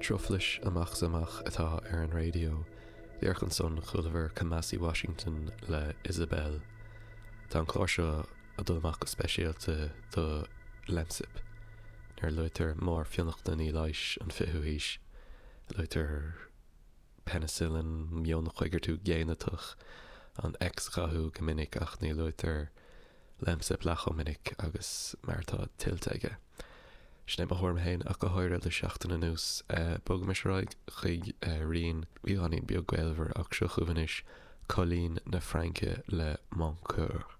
Truflais amach is amach atá ar an raidió. Díreach ansan chualamar Kamasi Washington le Isabel. Tá an clár seo ag dul amach go speisialta do Lemsip. Nuair a luaitear mórfhionnachtainí leighis an 20ú haois, luaitear peinicillin, mionchoigeartú géineatach, an X-ghathú go minic ach ní luaitear Lemsip leath chomh minic agus mar atá tuillte aige. Sin é mo thuairim féin ach go háirithe le seachtain anuas. Bogaimis ar aghaidh chuig rian beagáinín beag gaolmhar ach seo chugaibh anois Coilín na Fraince le Mon Coeur.